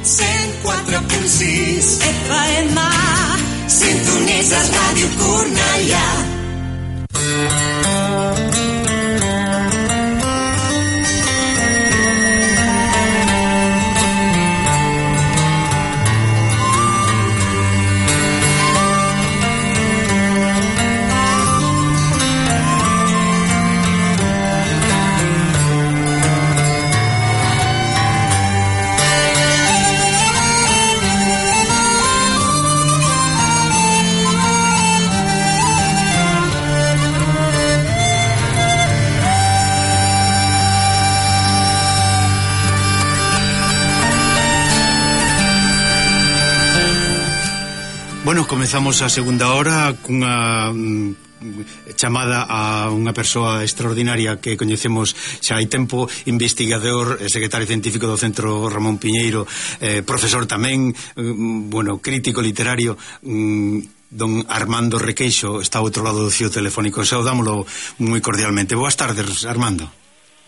104.6 FM, sintonitzes Ràdio Cornellà. Bueno, comezamos a segunda hora cunha chamada a unha persoa extraordinaria que coñecemos xa hai tempo, investigador, secretario científico do Centro Ramón Piñeiro, profesor tamén, bueno, crítico literario, don Armando Requeixo está ao outro lado do fío telefónico. Saudámolo moi cordialmente. Boas tardes, Armando.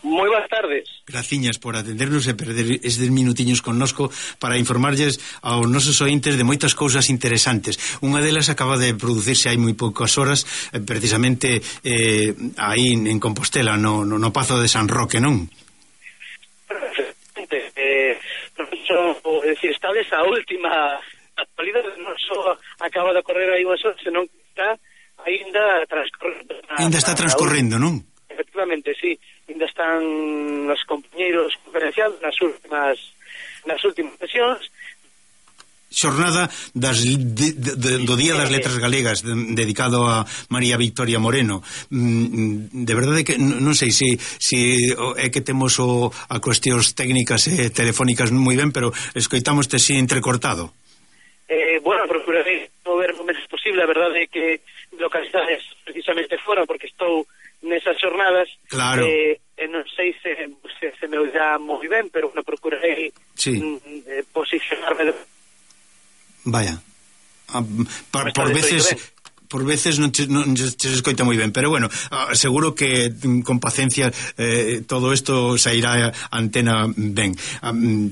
Moi boas tardes. Graciñas por atendernos e perder estes minutiños connosco para informarlles aos nosos ointes de moitas cousas interesantes. Unha delas acaba de producirse hai moi poucas horas, precisamente aí en Compostela, no Pazo de San Roque, non? Perfectamente. Estades a última actualidade, non só acaba de correr aí unhas horas, senón que está ainda transcorrendo. Ainda está transcorrendo, non? Efectivamente, sí. Ainda están os compañeiros conferenciados nas últimas sesións. Xornada do Día das Letras Galegas dedicado a María Victoria Moreno. De verdade que non sei se é que temos a cuestións técnicas e telefónicas moi ben, pero escoitámoste así entrecortado. Bueno, procurarei mover o menos posible. A verdade é que localizades precisamente fora, porque estou nesas jornadas. Claro. Non sei se me oirá moi ben, pero non procurarei posicionarme. Vaya. Por veces non se escoita moi ben, pero bueno, seguro que con paciencia todo isto sairá a antena ben.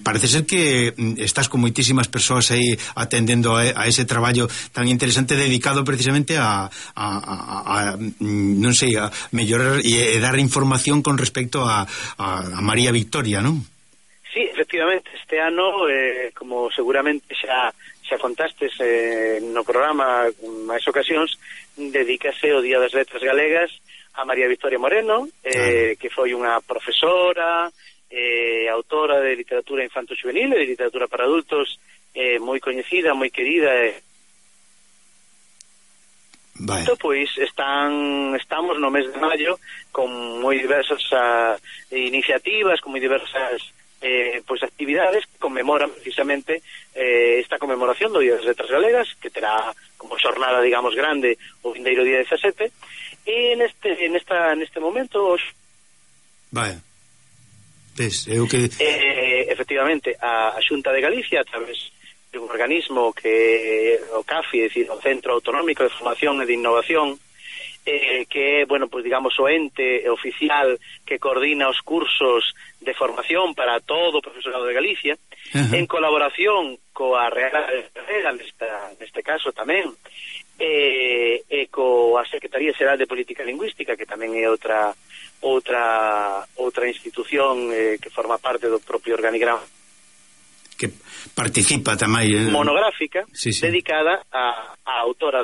Parece ser que estás con moitísimas persoas aí atendendo a ese traballo tan interesante dedicado precisamente a non sei, a mellorar e dar información con respecto a María Victoria, non? Sí, efectivamente, este ano, como seguramente xa contastes no programa máis ocasións, dedícase o Día das Letras Galegas a María Victoria Moreno, que foi unha profesora, autora de literatura infanto-juvenil e de literatura para adultos, moi coñecida, moi querida. Pois estamos no mes de maio con moi diversas iniciativas, con moi diversas pois actividades que conmemoran precisamente esta conmemoración do Día das Letras Galegas, que terá como xornada, digamos, grande o vindeiro día 17, e neste momento vaya, ves, é o que efectivamente a Xunta de Galicia, a través de un organismo que o CAFI, é dicir, o Centro Autonómico de Formación e de Innovación, que é, bueno, pues digamos o ente oficial que coordina os cursos de formación para todo o profesorado de Galicia, en colaboración coa Real Academia, neste caso tamén, e coa Secretaría Xeral de Política Lingüística, que tamén é outra institución que forma parte do propio organigrama, que participa tamén monográfica, dedicada á autora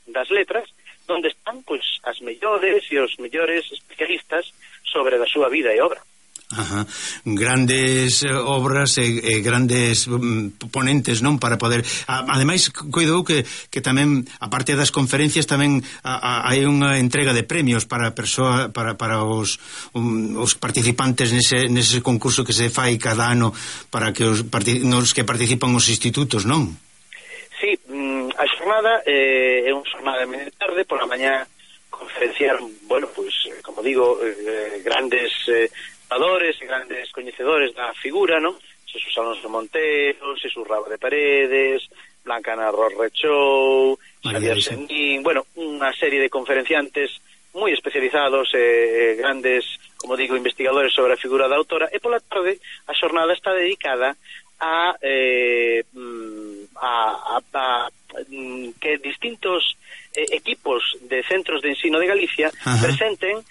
das letras, onde están pois as mellores e os mellores especialistas sobre a súa vida e obra. Grandes obras e grandes ponentes, non, para poder ademais, coido que tamén, a parte das conferencias, tamén hai unha entrega de premios para os participantes nese concurso que se fai cada ano para que nos que participan os institutos, non? Sí, a xornada é unha xornada de media tarde, por la mañá conferenciaron, bueno, pues, como digo, grandes adores e grandes coñecedores da figura, non? Jesús Alonso Montero, Jesús Raba de Paredes, Blanca Narro Rechou, Xavier Senín, bueno, unha serie de conferenciantes moi especializados, grandes, como digo, investigadores sobre a figura da autora, e pola tarde a xornada está dedicada que distintos equipos de centros de ensino de Galicia presenten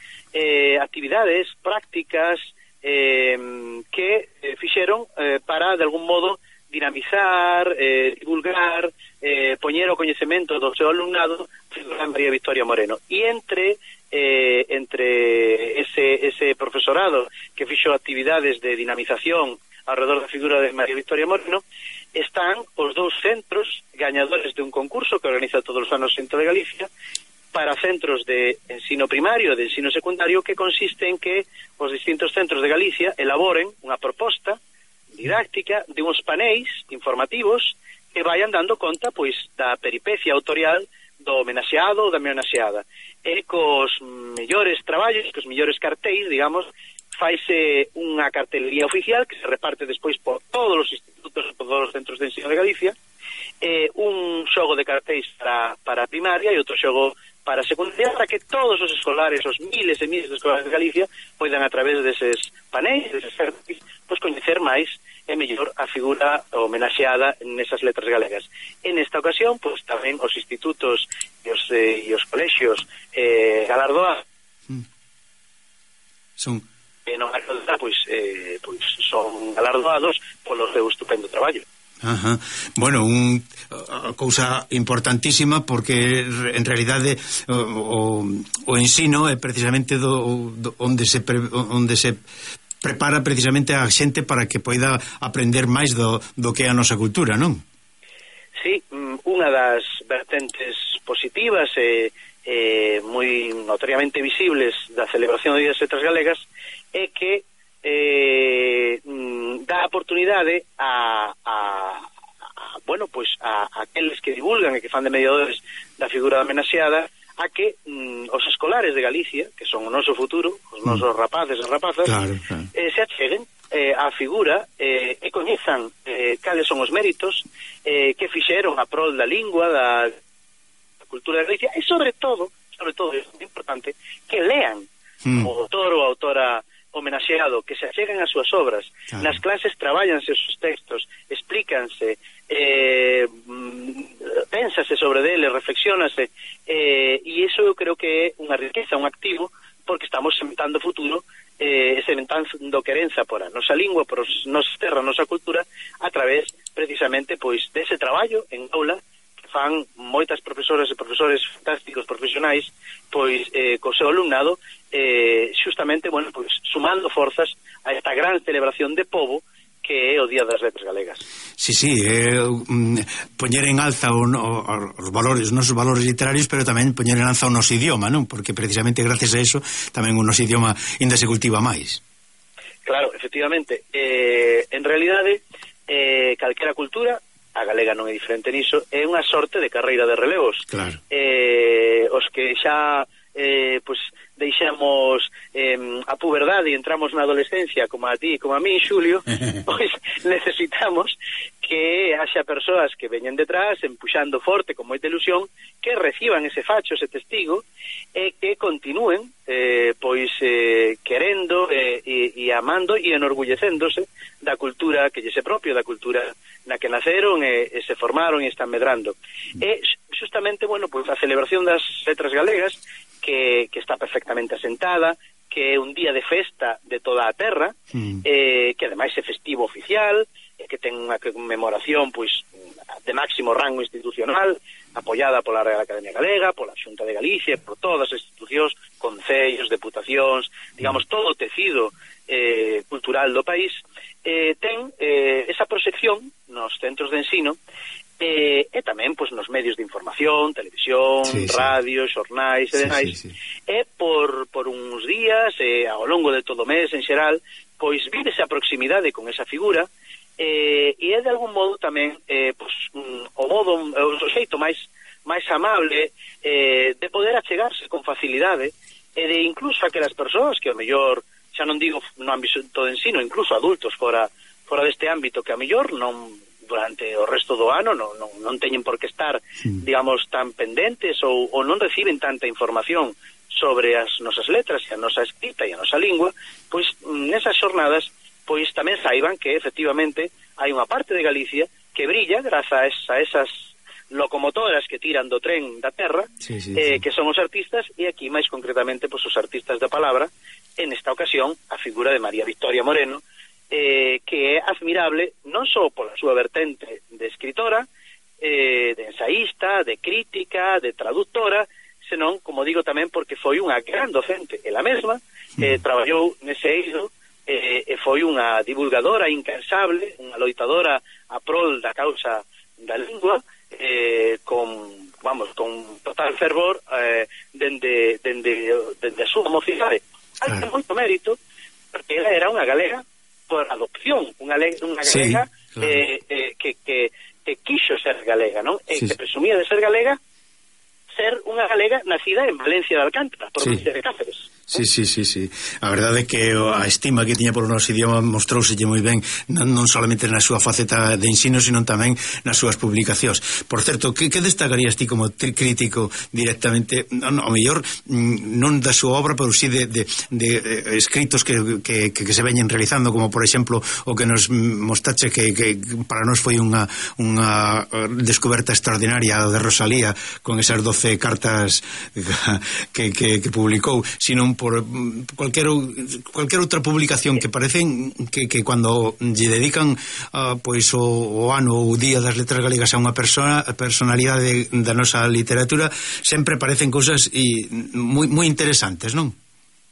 actividades, prácticas que fixeron para, de algún modo, dinamizar, divulgar, poñer o coñecemento do seu alumnado a María Victoria Moreno. E entre ese profesorado que fixo actividades de dinamización alrededor da figura de María Victoria Moreno, están os dous centros gañadores de un concurso que organiza todos os anos o Centro de Galicia para centros de ensino primario e de ensino secundario, que consiste en que os distintos centros de Galicia elaboren unha proposta didáctica de uns paneis informativos que vayan dando conta, pois, da peripecia autorial do homenaxeado ou da homenaxeada, e cos mellores traballos, cos mellores cartéis, digamos, faise unha cartelería oficial que se reparte despois por todos os institutos e por todos os centros de ensino de Galicia, un xogo de cartéis para primaria e outro xogo para secundaria, para que todos os escolares, os miles e miles de escolares de Galicia, poidan a través deses panéis, deses cartéis, pois coñecer máis e mellor a figura homenaxeada nesas letras galegas. En esta ocasión, pois tamén os institutos e os colexios galardoados son son galardoados polo seu estupendo traballo. Bueno, a cousa importantísima, porque en realidade o ensino é precisamente onde se prepara precisamente a xente para que poida aprender máis do que é a nosa cultura, non? Sí, unha das vertentes positivas e moi notoriamente visibles da celebración do Día das Letras Galegas é que dá oportunidade a aqueles que divulgan e que fan de mediadores da figura da homenaxeada, a que os escolares de Galicia, que son o noso futuro, os nosos rapaces e rapazas, claro. Se acheguen a figura e coñezan cales son os méritos que fixeron a prol da lingua, da cultura de Galicia, e sobre todo, é importante, que lean o autor ou a autora homenaxeado, que se acheguen as súas obras. Claro. Nas clases traballanse os textos, explícanse, pénsase sobre dele, reflexiónase, e iso eu creo que é unha riqueza, un activo, porque estamos sementando futuro, sementando querenza por a nosa lingua, por a nosa terra, a nosa cultura, a través, precisamente, pois, dese traballo en aula, fan moitas profesoras e profesores fantásticos, profesionais, pois co seu alumnado, xustamente, bueno, pois sumando forzas a esta gran celebración de pobo que é o Día das Letras Galegas. Sí, poñer en alza os valores, os nosos valores literarios, pero tamén poñer en alza o noso idioma, non? Porque precisamente gracias a eso tamén o noso idioma ainda se cultiva máis. Claro, efectivamente, en realidade calquera cultura, a galega non é diferente niso, é unha sorte de carreira de relevos. Claro. Os que xa deixamos a puberdade e entramos na adolescencia, como a ti e como a mí, Xulio, pois necesitamos que haxa persoas que veñen detrás, empuxando forte, con moita ilusión, que reciban ese facho, ese testigo, e que continúen querendo e amando e enorgullecéndose da cultura que lle se propio, da cultura na que naceron e se formaron e están medrando. E justamente, bueno, pois a celebración das letras galegas, que está perfectamente asentada, que é un día de festa de toda a terra, que ademais é festivo oficial, que ten unha conmemoración pois de máximo rango institucional, apoiada pola Real Academia Galega, pola Xunta de Galicia, por todas as institucións, concellos, deputacións, digamos, todo o tecido cultural do país, ten esa proxección nos centros de ensino, e tamén pois nos medios de información, televisión, radio, xornais e demais, e por uns días, ao longo de todo o mes en xeral, pois vívese a proximidade con esa figura, e é de algún modo tamén o xeito máis amable de poder achegarse con facilidade, e de incluso aquelas persoas que ao mellor, xa non digo no ámbito de ensino, incluso adultos fora deste ámbito, que ao mellor non durante o resto do ano non teñen por que estar, digamos, tan pendentes ou non reciben tanta información sobre as nosas letras e a nosa escrita e a nosa lingua, pois nesas xornadas pois tamén saiban que efectivamente hai unha parte de Galicia que brilla grazas a esas locomotoras que tiran do tren da terra, que son os artistas, e aquí máis concretamente os artistas da palabra, en esta ocasión a figura de María Victoria Moreno, que é admirable non só pola súa vertente de escritora, de ensaísta, de crítica, de traductora, senón, como digo, tamén porque foi unha gran docente, ela mesma, traballou nese eido, e foi unha divulgadora incansable, unha loitadora a prol da causa da lingua, con total fervor, dende a súa mocidade. Hai moito mérito, porque ela era unha galega por adopción, unha galega que quixo ser galega, non? Que presumía de ser galega, ser unha galega nacida en Valencia de Alcántara, provincia de Cáceres. Sí. A verdade é que a estima que tiña por o noso idioma mostrouselle moi ben, non solamente na súa faceta de ensino, sino tamén nas súas publicacións. Por certo, que destacarías ti como crítico directamente, ao mellor non da súa obra, pero sí de escritos que se veñen realizando, como por exemplo o que nos mostrache que para nós foi unha descoberta extraordinaria de Rosalía, con esas 12 cartas que publicou, sino por cualquier outra publicación que parecen que cando lle dedican pois o ano ou o día das letras galegas a unha personalidade da nosa literatura, sempre parecen cousas moi interesantes, non?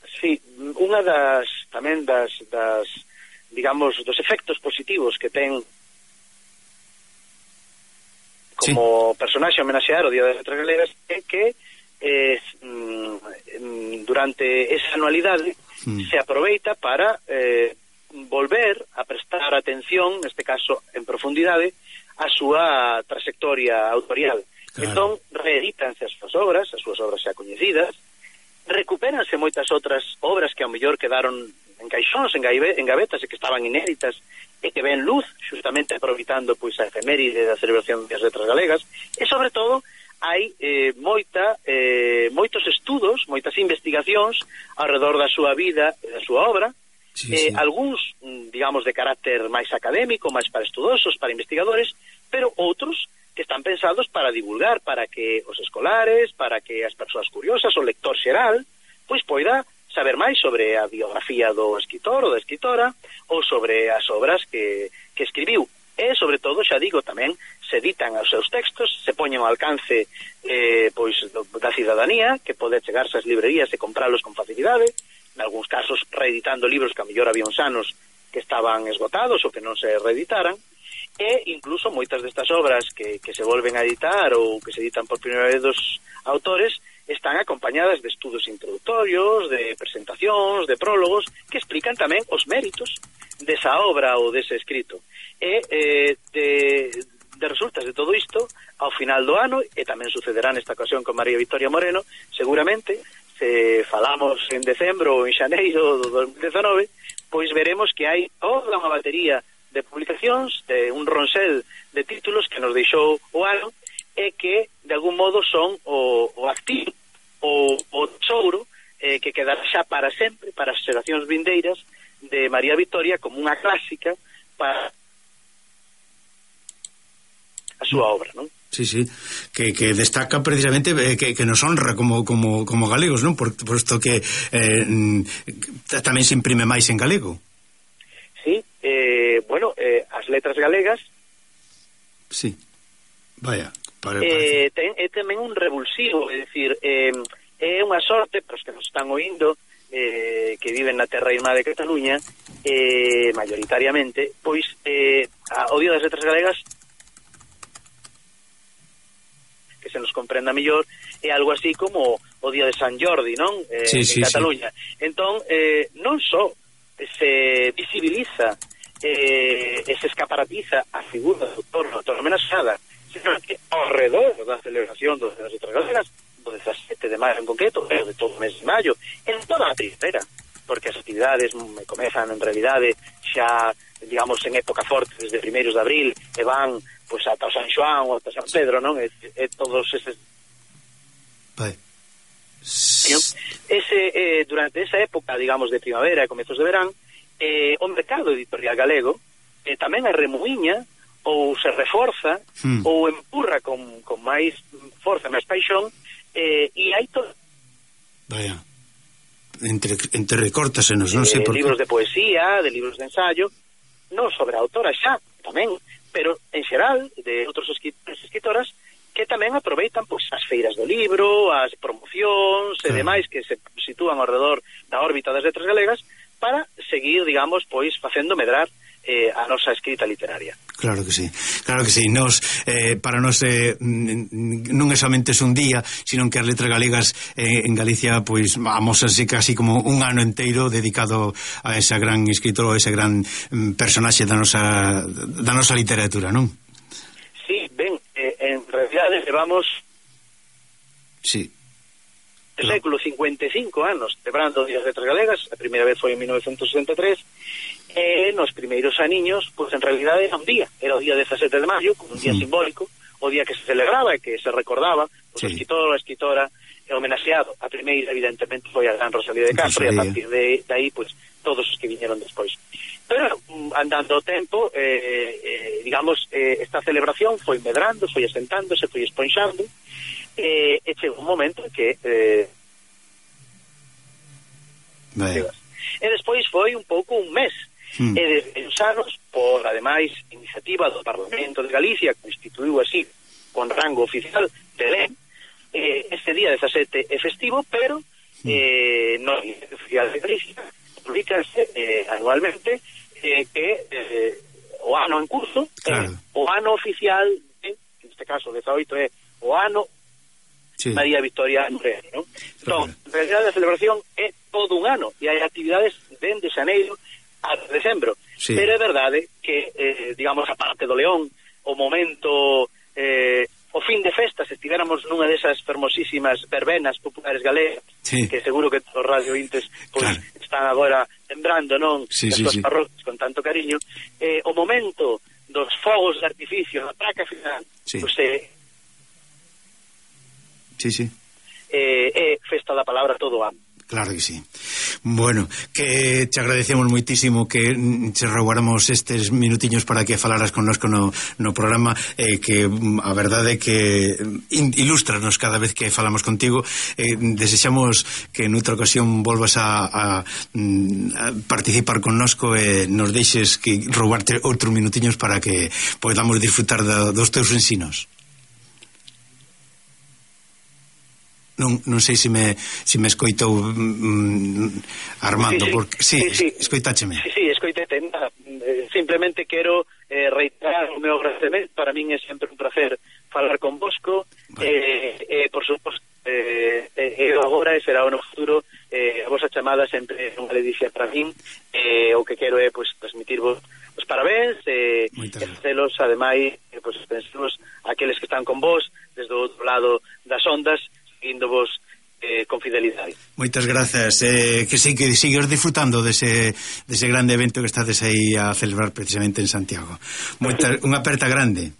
Sí, unha das digamos, dos efectos positivos que ten como personaxe homenaxear o Día das Letras Galegas é que durante esa anualidade se aproveita para volver a prestar atención, neste caso en profundidade, a súa trayectoria autorial. Entón, reedítanse as súas obras xa coñecidas, recupéranse moitas outras obras que ao mellor quedaron en caixóns, en gavetas, e que estaban inéditas, e que ven luz, justamente aproveitando pois a efeméride da celebración das letras galegas, e sobre todo hai moitos estudos, moitas investigacións ao redor da súa vida e da súa obra, algúns, digamos, de carácter máis académico, máis para estudosos, para investigadores, pero outros que están pensados para divulgar, para que os escolares, para que as persoas curiosas, o lector xeral, pois poida saber máis sobre a biografía do escritor ou da escritora, ou sobre as obras que escribiu. E, sobre todo, xa digo, tamén se editan os seus textos, se poñen ao alcance pois da cidadanía, que pode chegarse ás librerías e compralos con facilidade, en algúns casos reeditando libros que a mellor había uns anos que estaban esgotados ou que non se reeditaran, e incluso moitas destas obras que se volven a editar ou que se editan por primeira vez dos autores están acompañadas de estudos introductorios, de presentacións, de prólogos, que explican tamén os méritos desa obra ou dese escrito. E de resultas de todo isto, ao final do ano, e tamén sucederá nesta ocasión con María Victoria Moreno, seguramente, se falamos en decembro ou en xaneiro do 2019, pois veremos que hai toda unha batería de publicacións, de un ronsel de títulos que nos deixou o ano, e que, de algún modo, son o activo, o tesouro, que quedará xa para sempre, para as xeracións vindeiras, de María Victoria como unha clásica para a súa obra, non? Sí, que destaca precisamente que nos honra como galegos, non? Posto que tamén se imprime máis en galego. Sí, as letras galegas é tamén un revulsivo, é dicir, é unha sorte para os que nos están oindo, que viven na terra irmá de Cataluña, mayoritariamente, pois o Día das Letras Galegas, que se nos comprenda mellor, é algo así como o Día de San Jordi, non? En Cataluña. Entón, non só se visibiliza e se escaparatiza a figura do autor homenaxeada, sino que ao redor da celebración das Letras Galegas, do 17 de maio en concreto, e de todo o mes de maio, en toda a primavera, porque as actividades comezan en realidade xa, digamos, en época forte, desde primeiros de abril, e van pois ata o San Xoán ou ata San Pedro, non? E todos eses... Durante esa época, digamos, de primavera e comezos de verán, o mercado editorial galego tamén a remuiña ou se reforza ou empurra con máis forza, máis paixón, e hai todo. Vaya, entre recórtasenos, non sei por que. Libros de poesía, de libros de ensayo, non sobre a autora xa, tamén, pero en xeral de outros escritores e escritoras que tamén aproveitan pois as feiras do libro, as promocións e demais que se sitúan ao redor da órbita das letras galegas para seguir, digamos, pois facendo medrar a nosa escrita literaria. Claro que sí. Nos, para nós non é somente un día, sino que as letras galegas en Galicia pois amósanse casi como un ano inteiro dedicado a esa gran escritor, a ese gran personaxe da nosa literatura, non? Sí, ben, en realidade levamos o século 55 anos celebrando o Día das Letras Galegas. A primeira vez foi en 1963 e nos primeiros aniños, pois en realidade era un día, era o día 17 de maio, como un día simbólico, o día que se celebraba e que se recordaba pois, o escritor ou a escritora homenaxeado. A primeira evidentemente foi a gran Rosalía de Castro, e a partir de aí pois todos os que viñeron despois. Pero andando o tempo, digamos, esta celebración foi medrando, foi asentándose, foi esponxando, e chegou un momento en que e despois foi un pouco un mes e desde os anos, por ademais iniciativa do Parlamento de Galicia, que instituiu así con rango oficial de lei, este día 17 é festivo, pero no oficial de Galicia publicanse anualmente que o ano en curso, o ano oficial, en este caso 18 é o ano María Victoria Nureiro, ¿no? Entón, en realidad a celebración é todo un ano e hai actividades dende xaneiro a decembro, pero é verdade que, digamos, a parte do León, o momento, o fin de festas, estivéramos nunha desas fermosísimas verbenas populares galegas, que seguro que os radiointes pois, están agora lembrando, non? As súas parroquias con tanto cariño, o momento dos fogos de artificio na praca final, pois é festa da palabra todo o ano. Claro que sí. Bueno, que te agradecemos moitísimo que te roubáramos estes minutiños para que falaras connosco no programa, que a verdade é que ilústranos cada vez que falamos contigo. Desexamos que noutra ocasión volvas a participar connosco e nos deixes que roubarte outros minutiños para que podamos disfrutar dos teus ensinos. Non sei se me escoitou Armando, porque escoitácheme. Sí, escoitete. Simplemente quero reiterar o meu agradecemento. Para min é sempre un placer falar con vosco, por suposto, agora e será no futuro a vosa chamada sempre é unha delicia para min. O que quero é transmitirvos os parabéns e celos, ademais, pensemos aqueles que están con vos desde o outro lado das ondas, seguindovos con fidelidade. Moitas grazas, que sigues disfrutando dese grande evento que estades aí a celebrar precisamente en Santiago. Unha aperta grande.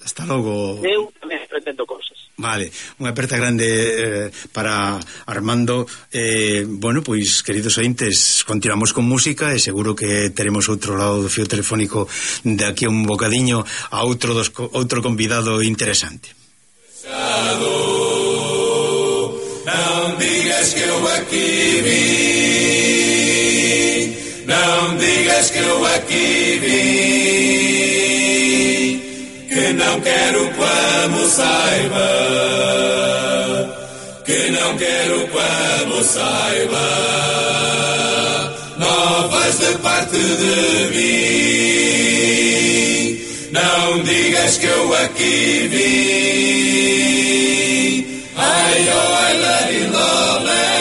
Hasta logo. Eu tamén pretendo cousas. Vale, unha aperta grande para Armando. Bueno, pois, queridos ointes, continuamos con música e seguro que teremos outro lado do fío telefónico de aquí a un bocadiño a outro convidado interesante. Não digas que eu aqui vim, não digas que eu aqui vim, que não quero como saiba, que não quero como saiba, novas de parte de mim, não digas que eu aqui vim. Ay, oh, I love you, love.